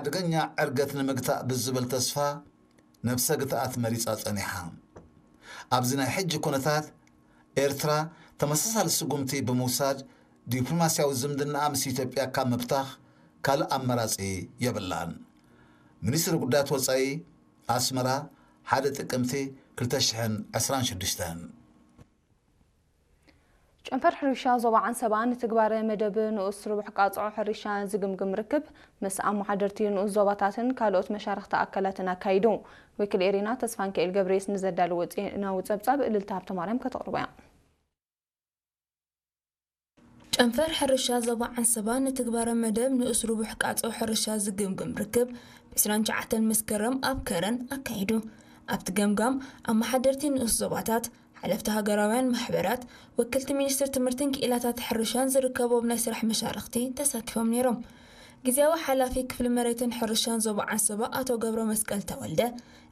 ሓደገኛ ዕርገት ንምግታእ ብዝብል ተስፋ ነብሰ ግትኣት መሪጻ ጸኒሓ። ኣብዚ ናይ ሕጂ ኩነታት ኤርትራ ተመሳሳሊ ስጉምቲ ብምውሳድ ዲፕሎማስያዊ ዝምድናኣ ምስ ኢትዮጵያ ካብ ምብታኽ ካልእ ኣማራጺ የብላን። ሚኒስትሪ ጉዳያት ወጻኢ ኣስመራ፣ ሓደ ጥቅምቲ ክልተ ሽሕን ዕስራን ሽዱሽተን። ጨንፈር ሕርሻ ዞባ ዓንሰባ ንትግባረ መደብ ንኡስ ርቡሕ ቃጽዖ ሕርሻ ዝግምግም ርክብ ምስ ኣመሓደርቲ ንኡስ ዞባታትን ካልኦት መሻርኽቲ ኣካላትን ኣካይዱ። ወኪል ኤሪና ተስፋንክኤል ገብረየስ ንዘዳለዎ ዜናዊ ጸብጻብ እልልታ ሃብተማርያም ከተቕርቦ እያ። ጨንፈር ሕርሻ ዞባ ዓንሰባ ንትግባረ መደብ ንኡስ ርቡሕ ቃጽዖ ሕርሻ ዝግምግም ርክብ ብ ዕስራን ትሽዓተን መስከረም ኣብ ከረን ኣካይዱ። ኣብቲ ገምጋም ኣመሓደርቲ ንኡስ ዞባታት፣ ሓለፍቲ ሃገራውያን ማሕበራት፣ ወክልቲ ሚኒስትር ትምህርትን ክኢላታት ሕርሻን ዝርከቦም ናይ ስራሕ መሻርኽቲ ተሳቲፎም ነይሮም። ግዝያዊ ሓላፊ ክፍሊ መሬትን ሕርሻን ዞባ ዓንሰባ ኣቶ ገብረ መስቀል ተወልደ፣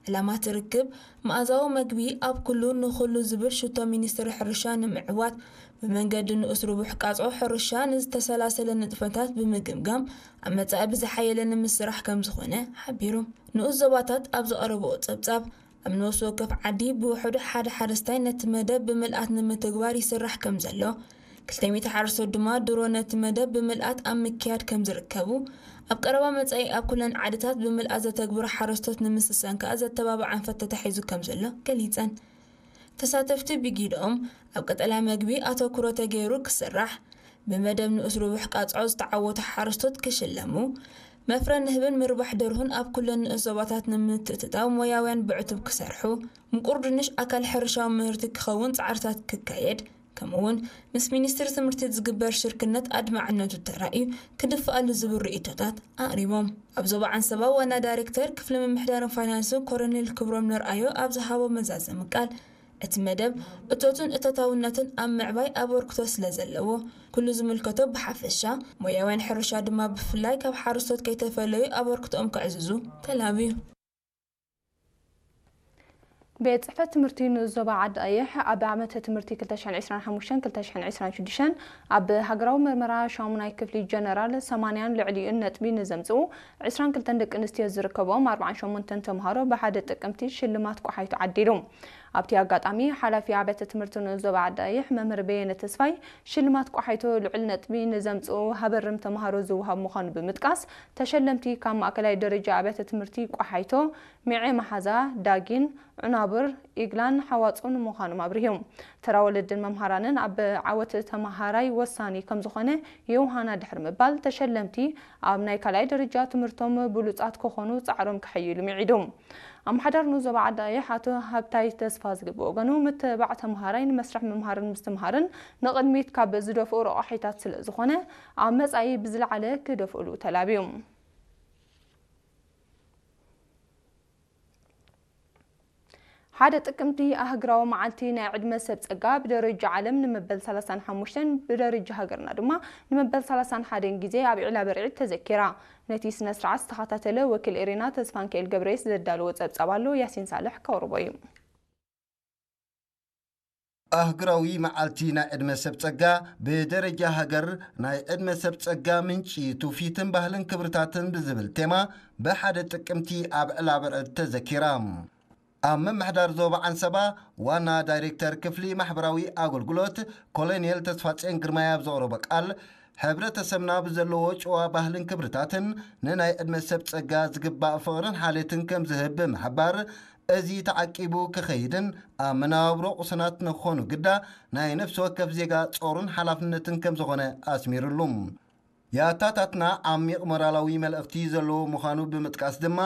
ዕላማ እቲ ርክብ መኣዛዊ መግቢ ኣብ ኩሉ ንኹሉ ዝብል ሽቶ ሚኒስትሪ ሕርሻ ንምዕዋት ብመንገዲ ንኡስ ርቡሕ ቃጽዖ ሕርሻ ንዝተሰላሰለ ንጥፈታት ብምግምጋም ኣብ መጻኢ ብዝሓየለ ንምስራሕ ከም ዝኾነ ሓቢሩ። ንኡስ ዞባታት ኣብ ዘቕረብኦ ጸብጻብ ኣብ ነፍሲ ወከፍ ዓዲ ብውሕዱ ሓደ ሓረስታይ ነቲ መደብ ብምልኣት ንምትግባር ይስራሕ ከም ዘሎ፣ ክልተ ሚእቲ ሓረስቶት ድማ ድሮ ነቲ መደብ ብምልኣት ኣብ ምክያድ ከም ዝርከቡ፣ ኣብ ቀረባ መጻኢ ኣብ ኩለን ዓድታት ብምልኣት ዘተግብሩ ሓረስቶት ንምስሳን ከኣ ዘተባብዕ ኣንፈት ተታሒዙ ከም ዘሎ ገሊጸን። ተሳተፍቲ ብጊድኦም ኣብ ቀጠልያ መግቢ ኣተኩሮ ተገይሩ ክስራሕ፣ ብመደብ ንኡስ ርቡሕ ቃጽዖ ዝተዓወቱ ሓረስቶት ክሽለሙ፣ መፍረ ንህብን ምርባሕ ደርሁን ኣብ ኩለን ንኡስ ዞባታት ንምትእትታው ሞያውያን ብዕቱብ ክሰርሑ፣ ምቁር ድንሽ ኣካል ሕርሻዊ ምህርቲ ክኸውን ጻዕርታት ክካየድ፣ ከምኡ'ውን ምስ ሚኒስትሪ ትምህርቲ ዝግበር ሽርክነት ኣድማዕነቱ ተራእዩ ክድፍኣሉ ዝብል ርእይቶታት ኣቕሪቦም። ኣብ ዞባ ዓንሰባ ዋና ዳይሬክተር ክፍሊ ምምሕዳርን ፋይናንስን ኮረኔል ክብሮም ነርኣዮ ኣብ ዝሃቦ መዛዘሚ ቃል፣ እቲ መደብ እቶትን እቶታውነትን ኣብ ምዕባይ ኣበርክቶ ስለ ዘለዎ፣ ኩሉ ዝምልከቶ ብሓፈሻ፣ ሞያውያን ሕርሻ ድማ ብፍላይ ካብ ሓረስቶት ከይተፈለዩ ኣበርክቶኦም ከዕዝዙ ተላብዩ። ቤት ጽሕፈት ትምህርቲ ንኡስ ዞባ ዓዲ ቀይሕ ኣብ ዓመተ ትምህርቲ ክልተ ሽሕን ዕስራን ሓሙሽተን ክልተ ሽሕን ዕስራን ሽዱሽተን ኣብ ሃገራዊ መርመራ ሻሙናይ ክፍሊ ጀነራል ሰማንያን ልዕሊኡን ነጥቢ ንዘምጽኡ ዕስራን ክልተን ደቂ ኣንስትዮ ዝርከብኦም ኣርብዓን ሸሞንተን ተምሃሮ ብሓደ ጥቅምቲ ሽልማት ቆሓይቱ ዓዲሉ። ኣብቲ ኣጋጣሚ ሓላፊ ኣብያተ ትምህርቲ ንኡስ ዞባ ዓዲ ቀይሕ መምህር በየነ ተስፋይ ሽልማት ቆሓይቶ ልዑል ነጥቢ ንዘምጽኡ ሃበርም ተምሃሮ ዝወሃብ ምዃኑ ብምጥቃስ ተሸለምቲ ካብ ማእከላይ ደረጃ ኣብያተ ትምህርቲ ቆሓይቶ፣ ሚዔ መሓዛ፣ ዳጊን፣ ዑናብር፣ ኢግላን ሓዋጹን ምዃኖም ኣብሪሁ። ተራ ወለድን መምሃራንን ኣብ ዓወት ተመሃራይ ወሳኒ ከምዝኾነ ዮውሃና ድሕሪ ምባል፣ ተሸለምቲ ኣብ ናይ ካልኣይ ደረጃ ትምህርቶም ብሉጻት ክኾኑ ጻዕሮም ከሐይሉ ምዒዱ። ኣመሓዳሪ ንኡስ ዞባ ዓዲ ቀይሕ ኣቶ ሃብታይ ተስፋዝጊ ብወገኑ፣ ምትብባዕ ተመሃራይ ንመስርሕ ምምሃርን ምስትምሃርን ንቕድሚት ካብ ዝደፍኡ ረቋሒታት ስለ ዝኾነ፣ ኣብ መጻኢ ብዝለዓለ ክደፍእሉ ተላብዩ። ሓደ ጥቅምቲ ኣህግራዊ መዓልቲ ናይ ዕድመ ሰብ ጸጋ ብደረጃ ዓለም ንመበል ሰላሳን ሓሙሽተን ብደረጃ ሃገርና ድማ ንመበል ሰላሳን ሓደን ግዜ ኣብ ዒላ በርዒድ ተዘኪራ። ነቲ ስነ ስርዓት ዝተኸታተለ ወኪል ኤሪና ተስፋንክኤል ገብረየስ ዘዳለዎ ጸብጻብ ኣሎ፣ ያሲን ሳልሕ ከቕርቦ እዩ። ኣህግራዊ መዓልቲ ናይ ዕድመ ሰብ ጸጋ ብደረጃ ሃገር ናይ ዕድመ ሰብ ጸጋ ምንጪ ትውፊትን ባህልን ክብርታትን ብዝብል ቴማ ብሓደ ጥቅምቲ ኣብ ዕላ በርዕድ ተዘኪራ። ኣብ ምምሕዳር ዞባ ዓንሰባ ዋና ዳይሬክተር ክፍሊ ማሕበራዊ ኣገልግሎት ኮሎኔል ተስፋጼን ግርማይ ኣብ ዘቕረቦ ቃል፣ ሕብረተሰብና ብዘለዎ ጭዋ ባህልን ክብርታትን ንናይ ዕድመ ሰብ ጸጋ ዝግባእ ፍቕርን ሓልዮትን ከም ዝህብ ብምሕባር፣ እዚ ተዓቂቡ ክኸይድን ኣብ መነባብሮ ቁሱናት ንክኾኑ ግዳ ናይ ነፍሲ ወከፍ ዜጋ ጾሩን ሓላፍነትን ከም ዝኾነ ኣስሚሩሉ። የኣታታትና ዓሚቕ ሞራላዊ መልእኽቲ ዘለዎ ምዃኑ ብምጥቃስ ድማ፣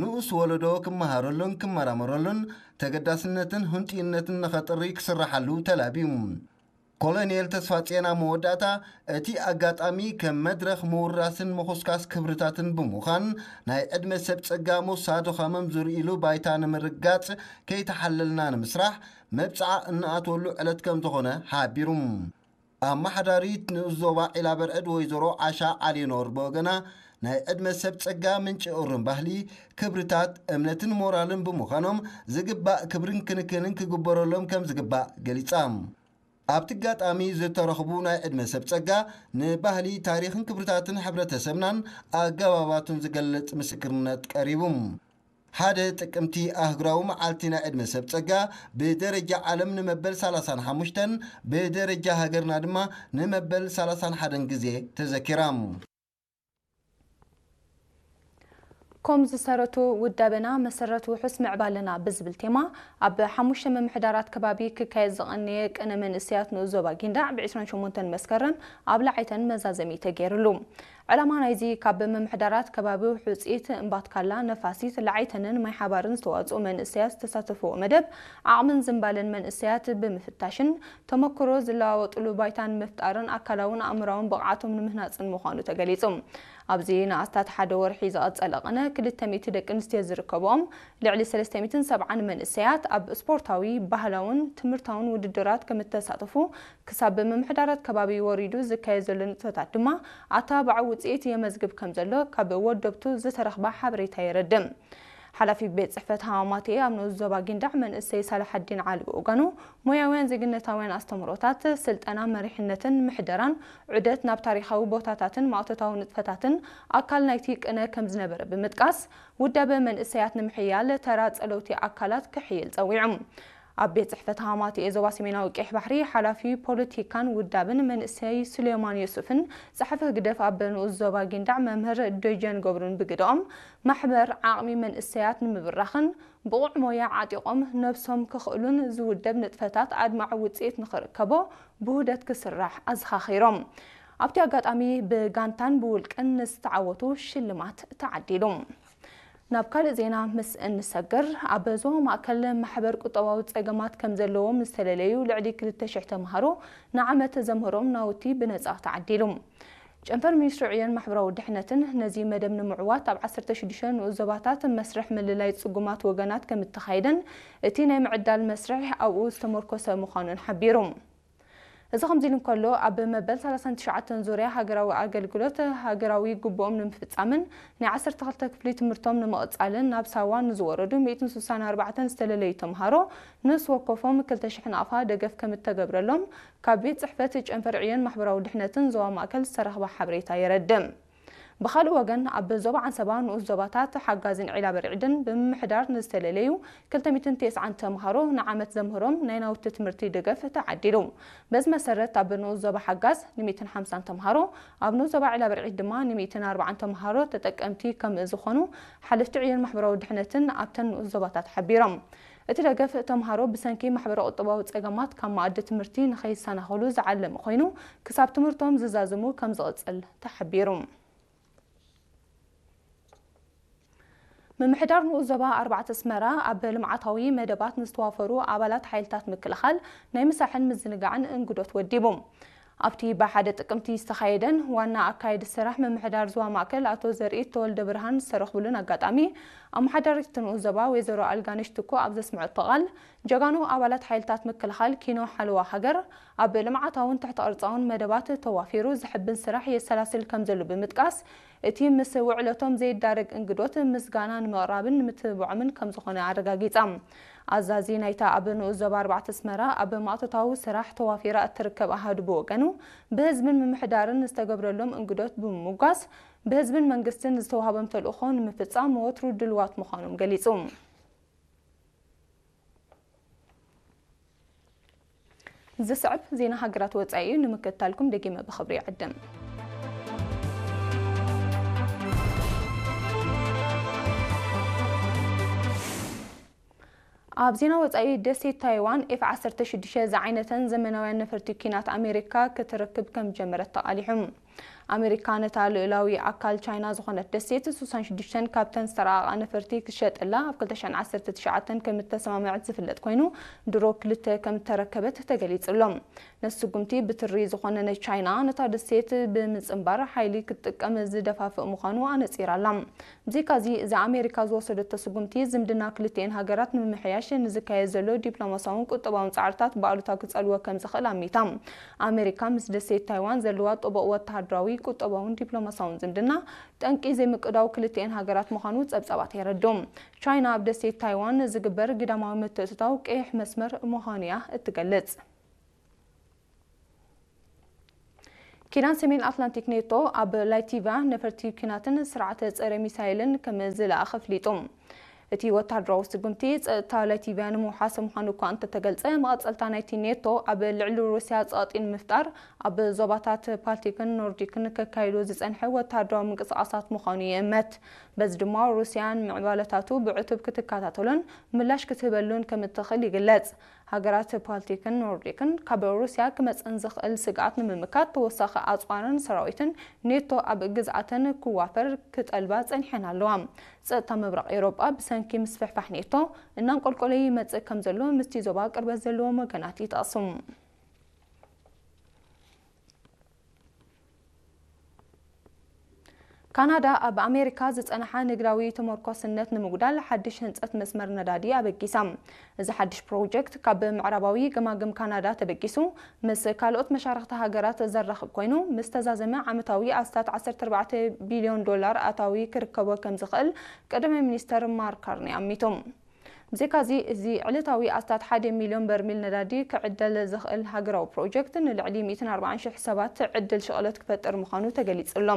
ንኡስ ወለዶ ክመሃረሉን ክመራመረሉን ተገዳስነትን ህንጥዩነትን ንኸጥሪ ክስርሓሉ ተላብዩ። ኮሎኔል ተስፋጼን ኣብ መወዳእታ፣ እቲ ኣጋጣሚ ከም መድረኽ ምውራስን ምኹስካስ ክብርታትን ብምዃን፣ ናይ ዕድመ ሰብ ጸጋ ሞሳ ድኻሞም ዝርእይሉ ባይታ ንምርግጋጽ ከይተሓለልና ንምስራሕ መብጽዓ እንኣትወሉ ዕለት ከም ዝኾነ ሓቢሩ። ኣመሓዳሪት ንኡስ ዞባ ዒላ በርዕድ ወይዘሮ ዓሻ ዓሊኖር ብወገና፣ ናይ ዕድመ ሰብ ጸጋ ምንጪ እሩም ባህሊ፣ ክብርታት፣ እምነትን ሞራልን ብምዃኖም ዝግባእ ክብርን ክንክንን ክግበረሎም ከም ዝግባእ ገሊጻ። ኣብቲ ኣጋጣሚ ዝተረኽቡ ናይ ዕድመ ሰብ ጸጋ ንባህሊ፣ ታሪኽን ክብርታትን ሕብረተሰብናን ኣገባባቱን ዝገልጽ ምስክርነት ቀሪቡ። ሓደ ጥቅምቲ ኣህጉራዊ መዓልቲ ናይ ዕድመ ሰብ ጸጋ ብደረጃ ዓለም ንመበል ሰላሳን ሓሙሽተን፣ ብደረጃ ሃገርና ድማ ንመበል ሰላሳን ሓደን ግዜ ተዘኪራ። ኮም ዝሰረቱ ውዳበና መሰረት ውሑስ ምዕባለና ብዝብል ቴማ ኣብ ሓሙሽተ ምምሕዳራት ከባቢ ክካየድ ዝቐነየ ቅነ መንእሰያት ንኡስ ዞባ ጊንዳዕ ብ ዕስራን ሸሞንተን መስከረም ኣብ ላዓይተን መዛዘሚ ተገይርሉ። ዕላማ ናይዚ ካብ ምምሕዳራት ከባቢ ውሑጽኢት እምባትካላ፣ ነፋሲት፣ ላዓይተንን ማይ ሓባርን ዝተዋጽኡ መንእሰያት ዝተሳተፍዎ መደብ ዓቕምን ዝንባለን መንእሰያት ብምፍታሽን ተመክሮ ዝለዋወጥሉ ባይታ ንምፍጣርን ኣካላውን ኣእምራውን ብቕዓቶም ንምህናጽን ምዃኑ ተገሊጹ። ኣብዚ ንኣስታት ሓደ ወርሒ ዝቐጸለ ቅነ ክልተ ሚእቲ ደቂ ኣንስትዮ ዝርከብኦም ልዕሊ ሰለስተ ሚእትን ሰብዓን መንእሰያት ኣብ ስፖርታዊ፣ ባህላውን ትምህርታውን ውድድራት ከም እተሳተፉ ክሳብ ብምምሕዳራት ከባቢ ወሪዱ ዝካየድ ዘሎ ንጥፈታት ድማ ኣተባባዒ ውጽኢት የመዝግብ ከም ዘሎ ካብ ወደብቱ ዝተረኽበ ሓበሬታ የረድእ። ሓላፊ ቤት ጽሕፈት ሃማማቴ ኣብ ንኡስ ዞባ ጊንዳዕ መንእሰይ ሳላሓዲን ዓሊ ብወገኑ፣ ሞያውያን ዜግነታውያን ኣስተምህሮታት፣ ስልጠና መሪሕነትን ምሕደራን ዑደት ናብ ታሪኻዊ ቦታታትን ማእቶታዊ ንጥፈታትን ኣካል ናይቲ ቅነ ከም ዝነበረ ብምጥቃስ፣ ውዳበ መንእሰያት ንምሕያል ተራ ጸለውቲ ኣካላት ክሕይል ጸዊዑ። ኣብ ቤት ጽሕፈት ሃማማቴ ዞባ ሰሜናዊ ቀይሕ ባሕሪ ሓላፊ ፖለቲካን ውዳብን መንእሰይ ሱሌማን ዮሱፍን ጸሓፊ ህግደፍ ኣብ ንኡስ ዞባ ጊንዳዕ መምህር ደጀን ገብሩን ብግደኦም፣ ማሕበር ዓቕሚ መንእሰያት ንምብራኽን ብቑዕ ሞያ ዓጢቖም ነብሶም ክኽእሉን ዝውደብ ንጥፈታት ኣድማዒ ውጽኢት ንኽርከቦ ብውህደት ክስራሕ ኣዘኻኺሮም። ኣብቲ ኣጋጣሚ ብጋንታን ብውልቅን ንዝተዓወቱ ሽልማት ተዓዲሉ። ናብ ካልእ ዜና ምስ እንሰግር፣ ኣብ ዞባ ማእከል ማሕበር ቁጠባዊ ጸገማት ከም ዘለዎም ዝተለለዩ ልዕሊ ክልተ ሽሕ ተምሃሮ ንዓመት ዘምህሮም ናውቲ ብነጻ ተዓዲሉ። ጨንፈር ሚኒስትሪ ዕዮን ማሕበራዊ ድሕነትን ነዚ መደብ ንምዕዋት ኣብ ዓሰርተ ሽዱሽተ ንኡስ ዞባታት መስርሕ ምልላይ ጽጉማት ወገናት ከም እተኻየደን እቲ ናይ ምዕዳል መስርሕ ኣብኡ ዝተመርኮሰ ምዃኑን ሓቢሩ። እዚ ከምዚ ኢሉ እንከሎ፣ ኣብ መበል ሰላሳን ትሽዓተን ዙርያ ሃገራዊ ኣገልግሎት ሃገራዊ ግቡኦም ንምፍጻምን ናይ ዓሰርተ ክልተ ክፍሊ ትምህርቶም ንምቕጻልን ናብ ሳዋ ንዝወረዱ ሚእትን ስሳን ኣርባዕተን ዝተለለዩ ተምሃሮ ነፍሲ ወከፎም ክልተ ሽሕ ናቕፋ ደገፍ ከም እተገብረሎም ካብ ቤት ጽሕፈት ጨንፈር ዕዮን ማሕበራዊ ድሕነትን ዞባ ማእከል ዝተረኽበ ሓበሬታ የረድእ። ብኻልእ ወገን፣ ኣብ ዞባ ዓንሰባ ንኡስ ዞባታት ሓጋዝን ዒላ በርዒድን ብምምሕዳር ንዝተለለዩ ክልተ ሚእትን ተስዓን ተምሃሮ ንዓመት ዘምህሮም ናይ ናውቲ ትምህርቲ ደገፍ ተዓዲሉ። በዚ መሰረት፣ ኣብ ንኡስ ዞባ ሓጋዝ ንሚእትን ሓምሳን ተምሃሮ፣ ኣብ ንኡስ ዞባ ዒላ በርዒድ ድማ ንሚእትን ኣርባዓን ተምሃሮ ተጠቀምቲ ከም ዝኾኑ ሓለፍቲ ዕዮን ማሕበራዊ ድሕነትን ኣብተን ንኡስ ዞባታት ሓቢሮም። እቲ ደገፍ ተምሃሮ ብሰንኪ ማሕበረ ቁጠባዊ ጸገማት ካብ መኣዲ ትምህርቲ ንኸይሰናኸሉ ዝዓለመ ኮይኑ፣ ክሳብ ትምህርቶም ዝዛዝሙ ከም ዝቕጽል ተሓቢሩ። ምምሕዳር ንኡስ ዞባ ኣርባዕተ ኣስመራ ኣብ ልምዓታዊ መደባት ንዝተዋፈሩ ኣባላት ሓይልታት ምክልኻል ናይ ምሳሕን ምዝንጋዕን እንግዶት ወዲቡ። ኣብቲ ብሓደ ጥቅምቲ ዝተኻየደን ዋና ኣካየዲ ስራሕ ምምሕዳር ዞባ ማእከል ኣቶ ዘርኢ ተወልደ ብርሃን ዝተረኽብሉን ኣጋጣሚ፣ ኣመሓዳሪት እቲ ንኡስ ዞባ ወይዘሮ ኣልጋነሽ ትኩ ኣብ ዘስምዐቶ ቃል፣ ጀጋኑ ኣባላት ሓይልታት ምክልኻል ኪኖ ሓለዋ ሃገር ኣብ ልምዓታውን ትሕተ ቅርጻውን መደባት ተዋፊሩ ዘሕብን ስራሕ የሰላስል ከም ዘሎ ብምጥቃስ፣ እቲ ምስ ውዕለቶም ዘይዳረግ እንግዶት ምስጋና ንምቕራብን ንምትብብዖምን ከም ዝኾነ ኣረጋጊጻ። ኣዛዚ ናይታ ኣብ ንኡስ ዞባ ኣርባዕተ ኣስመራ ኣብ ማእቶታዊ ስራሕ ተዋፊራ እትርከብ ኣሃዱ ብወገኑ፣ ብህዝብን ምምሕዳርን ዝተገብረሎም እንግዶት ብምምጓስ፣ ብህዝብን መንግስትን ዝተዋህቦም ተልእኾ ንምፍጻም ወትሩ ድልዋት ምዃኖም ገሊጹ። ዝስዕብ ዜና ሃገራት ወጻኢ እዩ። ንምክትታልኩም ደጊመ ብኽብሪ ይዕድም። ኣብ ዜና ወጻኢ፣ ደሴት ታይዋን ኤፍ ዓሰርተ ሽዱሽተ ዝዓይነተን ዘመናውያን ነፈርቲ ኲናት ኣሜሪካ ክትረክብ ከም ጀመረት ተቓሊሑ። ኣሜሪካ ነታ ልኡላዊ ኣካል ቻይና ዝኾነት ደሴት ሱሳን ሽዱሽተን ካብተን ዝተራቐቓ ነፈርቲ ክትሸጠላ ኣብ ክልተ ሽሕን ዓሰርተ ትሽዓተን ከም እተሰማምዐት ዝፍለጥ ኮይኑ፣ ድሮ ክልተ ከም እተረከበት ተገሊጹ ኣሎ። ነቲ ስጉምቲ ብትሪ ዝኾነ ንቻይና ነታ ደሴት ብምጽንባር ሓይሊ ክትጥቀም ዝደፋፍእ ምዃኑ ኣነጺራ ኣላ። ብዘይካዚ፣ እዚ ኣሜሪካ ዝወሰደቶ ስጉምቲ ዝምድና ክልቲኤን ሃገራት ንምምሕያሽ ንዝካየድ ዘሎ ዲፕሎማሲያውን ቁጠባውን ጻዕርታት ብኣሉታ ክጸልዎ ከም ዝኽእል ኣሚታ። ኣሜሪካ ምስ ደሴት ታይዋን ዘለዋ ጥቡቕ ወተሃደራዊ፣ ቁጠባውን ዲፕሎማሲያውን ዝምድና ጠንቂ ዘይምቅዳው ክልቲኤን ሃገራት ምዃኑ ጸብጻባት የረድኡ። ቻይና ኣብ ደሴት ታይዋን ዝግበር ግዳማዊ ምትእትታው ቀይሕ መስመር ምዃኑ እያ እትገልጽ። ኪዳን ሰሜን ኣትላንቲክ ኔቶ ኣብ ላቲቪያ ነፈርቲ ኲናትን ስርዓተ ጸረ ሚሳይልን ከም ዝለኣኸ ኣፍሊጡ። እቲ ወታደራዊ ስጉምቲ ጸጥታ ላቲቪያ ንምውሓስ ምዃኑ እኳ እንተተገልጸ፣ መቐጸልታ ናይቲ ኔቶ ኣብ ልዕሊ ሩስያ ጸቕጢ ንምፍጣር ኣብ ዞባታት ባልቲክን ኖርዲክን ከካይዶ ዝጸንሐ ወታደራዊ ምንቅስቓሳት ምዃኑ ይእመት። በዚ ድማ ሩስያን ምዕባለታቱ ብዕቱብ ክትከታተሎን ምላሽ ክትህበሉን ከም እትኽእል ይግለጽ። ሃገራት ባልቲክን ኖርዲክን ካብ ሩስያ ክመጽእን ዝኽእል ስግኣት ንምምካት ተወሳኺ ኣጽዋርን ሰራዊትን ኔቶ ኣብ ግዝኣተን ክዋፈር ክጠልባ ጸኒሐን ኣለዋ። ጸጥታ ምብራቕ ኤውሮጳ ብሰንኪ ምስፍሕፋሕ ኔቶ እናንቆልቆለ ይመጽእ ከም ዘሎ ምስቲ ዞባ ቅርበት ዘለዎም ወገናት ይጠቕሱ። ካናዳ ኣብ ኣሜሪካ ዝጸንሓ ንግዳዊ ተመርኮስነት ንምጉዳል ሓድሽ ህንጸት መስመር ነዳዲ ኣበጊሳ። እዚ ሓድሽ ፕሮጀክት ካብ ምዕራባዊ ገማግም ካናዳ ተበጊሱ ምስ ካልኦት መሻርኽቲ ሃገራት ዘራኽብ ኮይኑ፣ ምስ ተዛዘመ ዓመታዊ ኣስታት ዓሰርተ ኣርባዕተ ቢልዮን ዶላር ኣታዊ ክርከቦ ከም ዝኽእል ቀዳማይ ሚኒስተር ማርክ ካርኒ ኣሚቱ። ብዘይካዚ፣ እዚ ዕለታዊ ኣስታት ሓደ ሚልዮን በርሚል ነዳዲ ክዕደል ዝኽእል ሃገራዊ ፕሮጀክት ንልዕሊ ሚእትን ኣርባዓን ሽሕ ሰባት ዕድል ሽቕለት ክፈጥር ምዃኑ ተገሊጹ ኣሎ።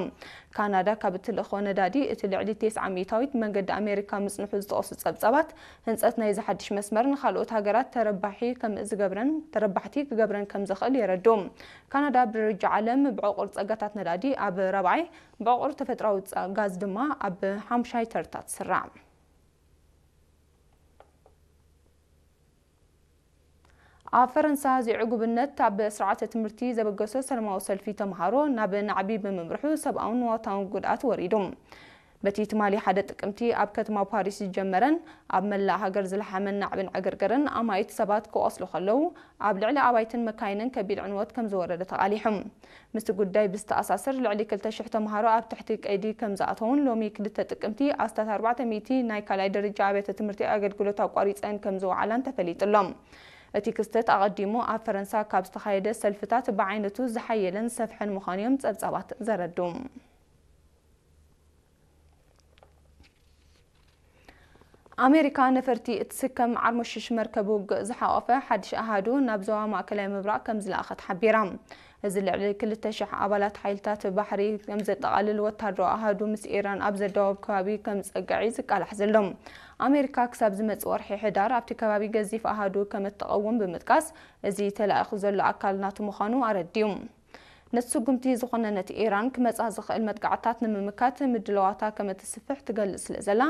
ካናዳ ካብ እትልእኾ ነዳዲ እቲ ልዕሊ ተስዓ ሚእታዊት መንገዲ ኣሜሪካ ምጽንሑ ዝጠቕሱ ጸብጻባት፣ ህንጸት ናይዚ ሓድሽ መስመር ንኻልኦት ሃገራት ተረባሒ ከም ዝገብረን፣ ተረባሕቲ ክገብረን ከም ዝኽእል የረድኡ። ካናዳ ብደረጃ ዓለም ብዕቑር ጸጋታት ነዳዲ ኣብ ራብዓይ፣ ብዕቑር ተፈጥሮኣዊ ጸ-፣ ጋዝ ድማ ኣብ ሓሙሻይ ተርታ ትስራዕ። ኣብ ፈረንሳ፣ ዘይዕጉብነት ኣብ ስርዓተ ትምህርቲ ዘበገሶ ሰላማዊ ሰልፊ ተምሃሮ ናብ ናዕቢ ብምምርሑ ሰብኣውን ንዋታውን ጉድኣት ወሪዱ። በቲ ትማሊ ሓደ ጥቅምቲ ኣብ ከተማ ፓሪስ ዝጀመረን ኣብ መላእ ሃገር ዝለሓመን ናዕብን ዕግርግርን ኣማኢት ሰባት ክቖስሉ ከለዉ፣ ኣብ ልዕሊ ኣባይትን መካይንን ከቢድ ዕንወት ከም ዝወረደ ተቓሊሑ። ምስቲ ጉዳይ ብዝተኣሳሰር፣ ልዕሊ ክልተ ሽሕ ተምሃሮ ኣብ ትሕቲ ቀይዲ ከም ዝኣተዉን ሎሚ ክልተ ጥቅምቲ ኣስታት ኣርባዕተ ሚእቲ ናይ ካልኣይ ደረጃ ኣብያተ ትምህርቲ ኣገልግሎት ኣቋሪጸን ከም ዝወዓላን ተፈሊጡ ኣሎ። እቲ ክስተት ኣቐዲሙ ኣብ ፈረንሳ ካብ ዝተኻየደ ሰልፍታት ብዓይነቱ ዝሓየለን ዝሰፍሐን ምዃኑ እዮም ጸብጻባት ዘረድኡ። ኣሜሪካ ነፈርቲ እትስከም ዓርሞሽሽ መርከብ ውግእ ዝሓቖፈ ሓድሽ ኣሃዱ ናብ ዞባ ማእከላይ ምብራቕ ከም ዝለኣኸት ሓቢራ። እዚ ልዕሊ ክልተ ሽሕ ኣባላት ሓይልታት ባሕሪ ከም ዘጠቓልል ወታደራዊ ኣሃዱ ምስ ኢራን ኣብ ዘዳወብ ከባቢ ከም ዝጸግዕ እዩ ዝቃላሕ ዘሎ። ኣሜሪካ ክሳብ ዝመጽእ ወርሒ ሕዳር ኣብቲ ከባቢ ገዚፍ ኣሃዱ ከም እትቐውም ብምጥቃስ፣ እዚ ተላኢኹ ዘሎ ኣካል ናቱ ምዃኑ ኣረዲኡ። ነቲ ስጉምቲ ዝኾነ ነቲ ኢራን ክመጻ ዝኽእል መጥቃዕታት ንምምካት ምድላዋታ ከም እትስፍሕ ትገልጽ ስለ ዘላ፣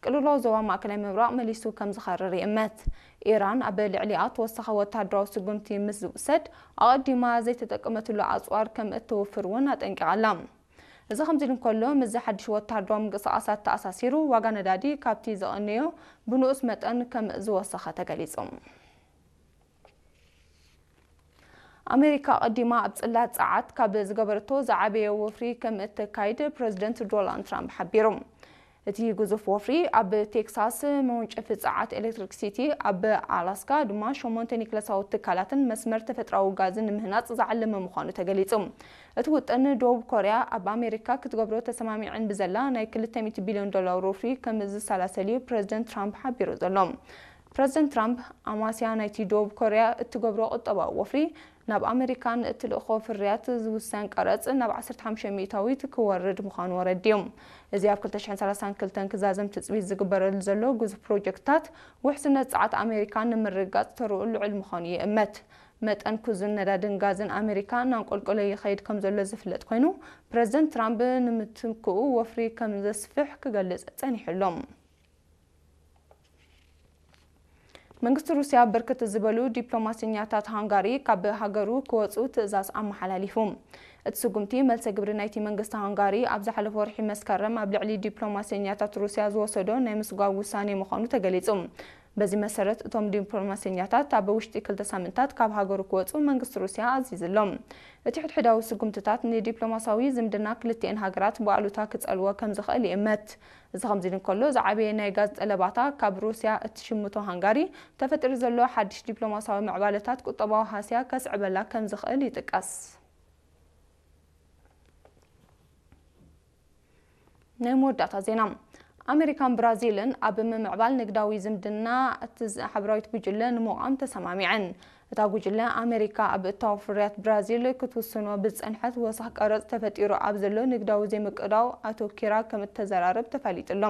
ቅልውላው ዞባ ማእከላይ ምብራቕ መሊሱ ከም ዝኸርር ይእመት። ኢራን ኣብ ልዕሊኣ ተወሳኺ ወታደራዊ ስጉምቲ ምስ ዝውሰድ፣ ኣቐዲማ ዘይተጠቀመትሉ ኣጽዋር ከም እትውፍር እውን ኣጠንቂቓ ኣላ። እዚ ከምዚ ኢሉ እንከሎ፣ ምስዚ ሓድሽ ወታደራዊ ምንቅስቓሳት ተኣሳሲሩ፣ ዋጋ ነዳዲ ካብቲ ዝቐነዮ ብንኡስ መጠን ከም ዝወሰኸ ተገሊጹ። ኣሜሪካ ኣቐዲማ ኣብ ጽላት ጸዓት ካብ ዝገበረቶ ዝዓበየ ወፍሪ ከም እተካይድ ፕረዚደንት ዶናልድ ትራምፕ ሓቢሩ። እቲ ግዙፍ ወፍሪ ኣብ ቴክሳስ መወንጨፊ ጸዓት ኤሌክትሪክ ሲቲ፣ ኣብ ኣላስካ ድማ ሸሞንተ ኒክለሳዊ ትካላትን መስመር ተፈጥሮኣዊ ጋዝን ንምህናጽ ዝዓለመ ምዃኑ ተገሊጹ። እቲ ውጥን ደቡብ ኮርያ ኣብ ኣሜሪካ ክትገብሮ ተሰማሚዐን ብዘላ ናይ ክልተ ሚእቲ ቢልዮን ዶላር ወፍሪ ከም ዝሰላሰል እዩ ፕረዚደንት ትራምፕ ሓቢሩ ዘሎ። ፕረዚደንት ትራምፕ ኣማስያ ናይቲ ደቡብ ኮርያ እትገብሮ ቁጠባዊ ወፍሪ ናብ ኣመሪካን እትልእኾ ፍርያት ዝውሰን ቀረጽ ናብ ዓሰርተ ሓሙሽተ ሚእታዊት ክወርድ ምዃኑ ኣረዲኡ። እዚ ኣብ ክልተ ሽሕን ሰላሳን ክልተን ክዛዘም ትጽቢት ዝግበረሉ ዘሎ ግዙፍ ፕሮጀክትታት ውሕስነት ጸዓት ኣሜሪካ ንምርግጋጽ ተርኡ ልዑል ምዃኑ ይእመት። መጠን ክዙን ነዳድን ጋዝን ኣሜሪካ እናንቆልቆለ ይኸይድ ከም ዘሎ ዝፍለጥ ኮይኑ፣ ፕረዚደንት ትራምፕ ንምትክኡ ወፍሪ ከም ዘስፍሕ ክገልጽ ጸኒሑ ኣሎ። መንግስቲ ሩስያ ብርክት ዝበሉ ዲፕሎማሰኛታት ሃንጋሪ ካብ ሃገሩ ክወጹ ትእዛዝ ኣመሓላሊፉ። እቲ ስጉምቲ መልሰ ግብሪ ናይቲ መንግስቲ ሃንጋሪ ኣብ ዝሓለፈ ወርሒ መስከረም ኣብ ልዕሊ ዲፕሎማሰኛታት ሩስያ ዝወሰዶ ናይ ምስጓግ ውሳኔ ምዃኑ ተገሊጹ። በዚ መሰረት እቶም ዲፕሎማሰኛታት ኣብ ውሽጢ ክልተ ሳምንታት ካብ ሃገሩ ክወጹ መንግስቲ ሩስያ ኣዚዙ ኣሎ። እቲ ሕድሕዳዊ ስጉምትታት ንዲፕሎማሲያዊ ዝምድና ክልቲኤን ሃገራት ብኣሉታ ክጸልዎ ከም ዝኽእል ይእመት። እዚ ከምዚ ኢሉ እንከሎ፣ ዝዓበየ ናይ ጋዝ ጠለባታ ካብ ሩስያ እትሽምቶ ሃንጋሪ፣ ተፈጢሩ ዘሎ ሓድሽ ዲፕሎማሲያዊ ምዕባለታት ቁጠባዊ ሃስያ ከስዕበላ ከም ዝኽእል ይጥቀስ። ናይ መወዳእታ ዜና። ኣሜሪካን ብራዚልን ኣብ ምምዕባል ንግዳዊ ዝምድና እቲ ዝ-፣ ሓበራዊት ጉጅለ ንምቋም ተሰማሚዐን። እታ ጉጅለ ኣመሪካ ኣብ እታወ ፍርያት ብራዚል ክትውስኖ ብዝጸንሐት ወሳኽ ቀረጽ ተፈጢሩ ኣብ ዘሎ ንግዳዊ ዘይምቅዳው ኣተኪራ ከም እተዘራርብ ተፈሊጡ ኣሎ።